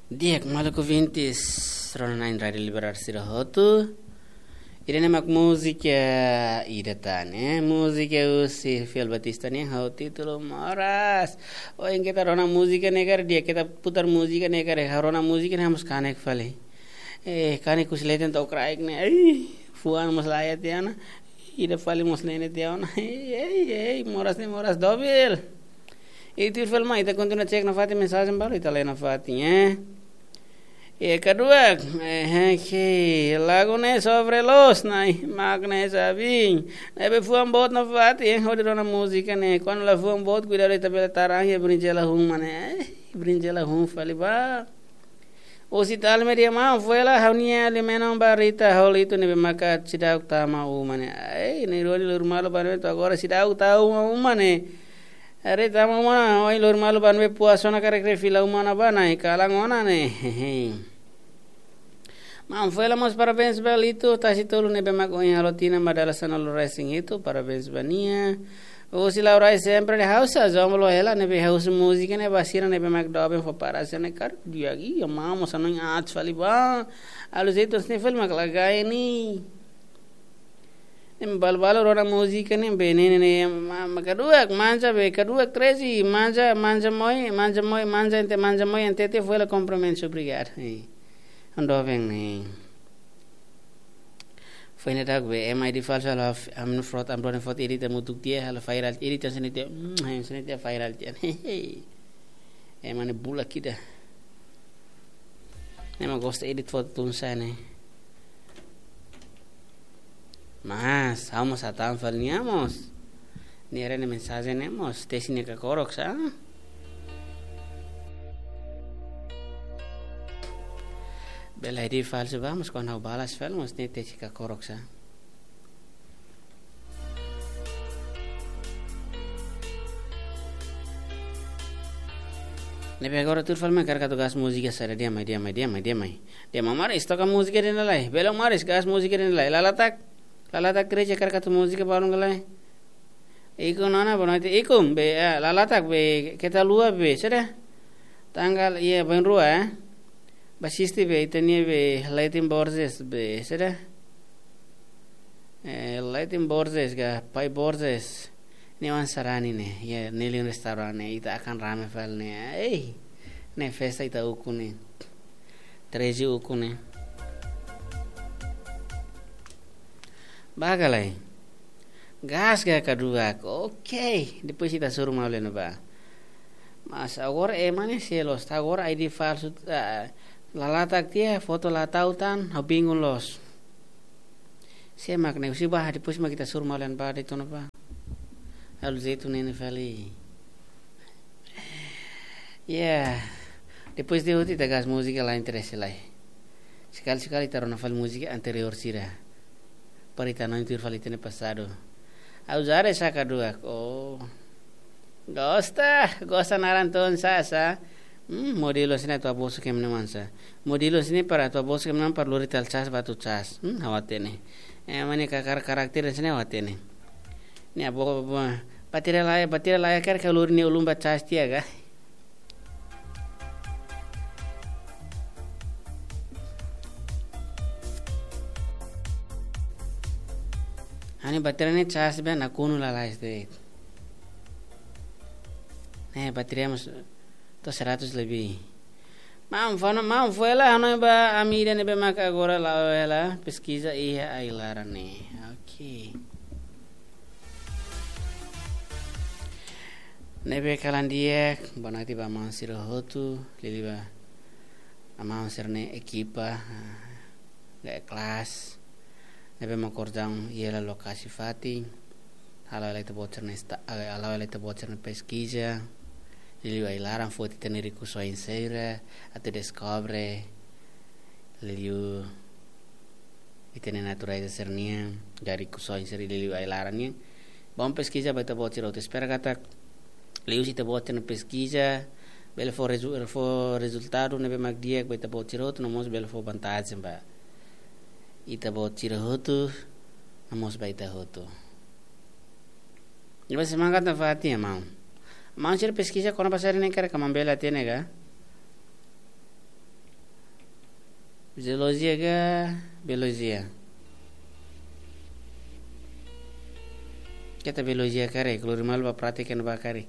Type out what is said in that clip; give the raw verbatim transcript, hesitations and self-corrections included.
Di'ak, maluk ouvintes, rona-na'in Rádiu Libertar sira hotu. Ida-ne'e mak múzika ida tan, eh? Múzika husi Fiel Batista nian, ha'u títulu Moras. Ohin keta rona múzika ne'e karik, di'ak, keta putar múzika ne'e karik, ha'u rona múzika ne'e ha'u mós kanek fali. Eh, kanek husi leten to'o kraik ne'e. Ai, fuan mós laiha tiha ona. Ida fali mós ne'e tiha ona. Ei, ei, ei, Moras ne'e Moras dobil. Ita tuir fali mai, ita kontinua cek nafatin mensajen balu, ita lee nafatin, eh. E kaduak, eh, eh, ke, lagu ne'e sofre loos, nai, mak ne'e sabin. Ne'ebé fuan boot nafatin, eh, hodi rona múzika ne'e. Kuandu la fuan boot, kuidadu ita bele taran iha brinjela hun, mane, eh, brinjela hun fali ba. Husi Talmeria, maun, foin hela ha'u-nia alimentu ba Rita, ha'u liu tiha ne'ebé maka seidauk tama uma ne'e. Ai, ne'e Roni lori malu ba ne'e to'o agora seidauk tama uma ne'e. Rita, maun, ohin lori malu ba ne'ebé puas ona karik fila uma ona ba, nai kalan ona ne'e. Maun, foin hela mós parabéns ba Lito, tasi tolu ne'ebé mak ohin halo tinan ba dala sanulu-resin-hitu, parabéns ba nia. Husi Laurai sempre de hausa, zombo lo hela ne'ebé ha'u husu múzika ne'e ba sira ne'ebé mak doben fó para sira ne'e karik di'ak, iha maun mós hanoin aat fali ba. Aluzeitun sini fali mak lagai ne'e. Ne'e balu-balu rona múzika ne'e be ne'e ne'e ne'e ma, ma kaduak, manja be, kaduak treze, manja, manja moi, manja moi, manja ente, manja moi ente te foin hela kompromisu, obrigadu. Eh. Ando bem, ne'e. Foin ne'e dak be, ema ID falsu halo ha'u, ami-nia foto, ami-nia foto edit hamutuk tiha, halo viral, edit hanesan ne'e tiha, mm, hanesan ne'e tiha viral tiha. Ema ne'e bulak ida. Ne'e mak gosta edit foto tun-saan ne'e. Mas, ha'u mós hatán fali nia mós. Nia haree ne'e mensajen ne'e mós, tesi nia kakorok sá. Bele ID falsu ba, mas kuandu ha'u balas fali mós nia tesi kakorok sá. Ne'ebé agora tuir fali mai karik atu gas múzika saida, di'ak mai, di'ak mai, di'ak mai, di'ak mai. Di'ak mai, Moras, toka múzika ida-ne'e lai. Bele Moras, gas múzika ida-ne'e lai. Lalatak, Lalatak Kreja karik atu múzika balun ka lae. Ikum nona, boa noite. Ikum, be, eh, Lalatak, be, keta haluha, be, saida? Tanggal, iha, bainrua, eh? Ba asiste, be, ita-nia, be, Leighton Borges, be, saida? Eh, Leighton Borges ka, Pai Borges. Ne'e oan sarani ne'e, iha Nilin Restaurant ne'e, ita akan rame fali ne'e. Ei, ne'e festa ita ukun ne'e. Treze ukun ne'e. Ba ka lae. Gas ka kaduak. Oke, depois ita hasoru malu iha ne'ebá. Mas agora ema ne'e sei loos, ta agora ID falsu, ah, Lalatak tiha, foto la tau tan, ha'u bingung loos. Sé mak ne'e, husi ba, depois mak ita hasoru malu iha ne'ebá, de'it ona ba. Aluzeitun ne'e ne'e fali. Ya, depois de hotu ita gas múzika la interese lai. Sekali-sekali ita rona fali múzika anteriór sira. Para ita hanoin tuir fali ita-nia pasadu. Ha'u zare saka dua. Oh. Gosta, gosta naran tun-saan sá. Hmm, modelu hanesan ne'e atu bosu ke mene mansa. Modelu hanesan ne'e para atu bosu ke mene para lori tiha cas ba atu cas. Hmm, ha'u hatene. Eh, mane ka kar-, karakter hanesan ne'e ha'u hatene. Ne'e abo, abo, bateria laiha, bateria laiha karik ka lori nia ulun ba cas tiha ka. Ha'u-nia bateria ne'e cas be nakonu lalais de'it. Ne'e bateria mós to'o seratus lebih. Maun, fó ona, maun, foin hela hanoin ba ami ida ne'ebé maka agora la'o hela peskiza iha ai-laran ne'e. Oke. Ne'ebé kalan di'ak, boa noite ba maun sira hotu, liuliu ba maun sira-nia ekipa, ah, ga kelas. Ne'ebé mak kordang iha lokasi fatin. Hala'o hela ita-boot sira-nia esta-, hala'o hela ita-boot sira-nia peskiza. Liuliu ai-laran foti ita-nia rikusoin sira, atu deskobre. Liuliu ita-nia natureza sira-nian, dari rikusoin sira liuliu ai-laran nian. Bá peskiza ba ita-boot sira hotu, espera katak liuhusi ita-boot sira-nia peskiza, bele fó rezu-, fó rezultadu ne'ebé mak di'ak ba ita-boot sira hotu, no mós bele fó vantajen ba ita-boot sira hotu, no mós ba ita hotu. Ne'ebé semangat nafatin, maun. Maun sira peskiza kona-ba saida ne'e karik maun bele hatene ka? Fisiolojia ka biolojia? Keta biolojia karik, klori malu ba pratika ne'ebá karik.